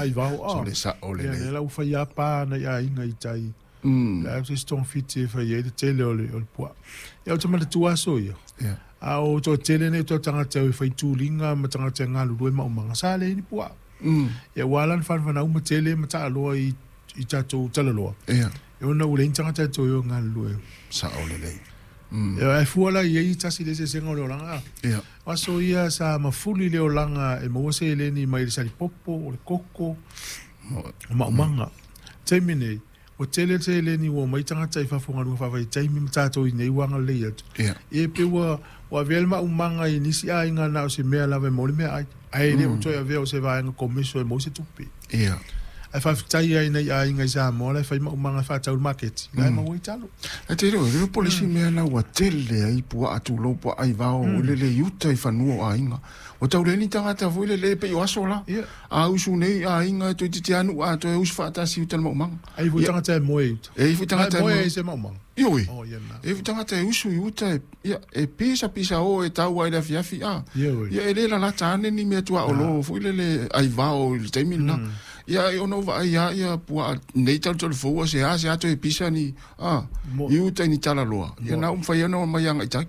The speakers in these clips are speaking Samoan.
aivao a. Sole sa'o Ia, lelei. lea la ua faia pa nai aiga i tai. La o se isi togafiti e fai ai le tele o le puaa. Ia, ou te manatua aso ia. A o toatele nei o tagata e fai tuliga ma tagata e galulue maumaga, sa leai ni puaa. Ia, ua ala ona fanavana uma tele ma taaloa i tatou talaloa. E ona ua leai ni tagata e toe o e galulue. Sa'o lelei. Ia, ae fua la i ai tasi le eseesega o le olaga a. O aso ia sa mafuli le olaga e maua seleni mai le salipopo, o le koko, o maumaga. Taimi nei, ua tele le seleni ua omai tagata i fafo galuega faavaitaimi ma tatou i inei ua agalelei atu. Ia e pei ua avea le maumaga i nisi aiga na o se mea lava e maua le meaai. Ae le o toe avea o se vaega komeso e maua se tupe. Ae faafetai ai nai aiga i Samoa la e fai maumaga e faatau i le maketi, la e maua ai talo. Ae te iloa, le po le isi mea la ua tele ai puaa tulou puaa aivao i le le uta i fanua o aiga. Ua tau leai ni tagata foi lele e pei o aso la. A usu nei aiga e toeitiiti lava nuu atoa e usu faatasi i uta i le maumaga. Ai foi tagata e moe i uta. E i foi tagata e moe ai se maumaga. Ioe. Oh, ia na. E i foi tagata e usu i uta e, ia, e pisa pisa o e tau ai i le afiafi a. Ia e le lalata ane ni mea tuaolo foi lele aivao i le taimi lena. Ia ai ona ou vaai lava ia puaa nei talutalu fou a se a se a toe pisa ni a i uta i ni talaloa. Ia na ua mafai ona omai agai i tai.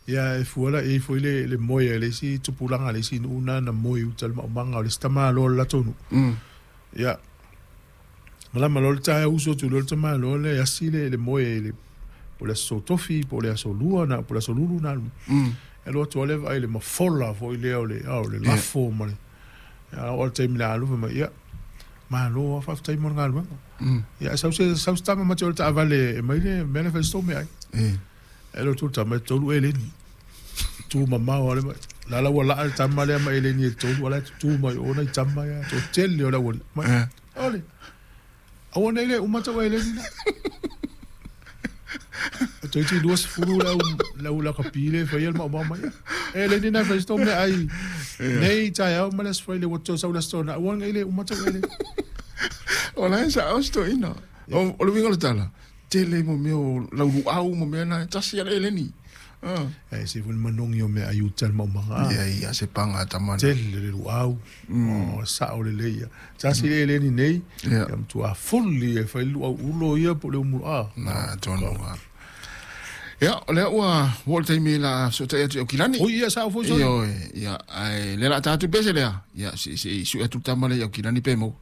Ia e fua la i ai foi le moe a le isi tupulaga a le isi nuu na na moe i uta i le maumaga o le isi tamaloa o le latou nuu. Ia, malama loa le taeao usu atu loa le tamaloa lea e asi le moe i le po o le aso tofi po o le aso lua na po o le aso lulu na alu. E alu atu lava lea vaai i le mafola foi lea o le o le lafo ma le ia oo lava i le taimi o le a alu fai mai ia malo lava faafetai mo le galuega. Ia sau se sau se tama ma te o le taavale e aumai le mea lea e fai ai se tou meaai. E alu atu le tama e 3 eleni. Tu mamao lava le la la ua laa le tama lea ma eleni e 3 a o la e tutu mai o nai tama ia toatele o le aualii. Mai, ole, aua nei le uma tau eleni na. Toeitiiti 20 le au le au lakapi lea e faia le maumau mai. Eleni na e fai ai se tou meaai nei taeao ma le Aso Faraile ua toe sau le Aso Toonai aua nei le uma tau eleni. O la e sa'o si toeaina. O le uiga o le tala, tele mo mea o lau luau ma mea na, e tasi lava le eleni. E ese foi le manogi o meaai uta i le maumaga. Ia, ia, se paga tama na. Tele le luau, o sao lelei ia. Tasi le eleni nei, ia matua fuli e fai le luau ulo ia po o le umu a. Na, tonu lava. Ia, o lea ua oo le taimi la a fesootai atu i Aukilani. Oi, ia, sao foi, sole. Ioe, ia, ae lea la a ta atu le pese lea, ia, se i sue atu le tama lea i Aukilani pe maua.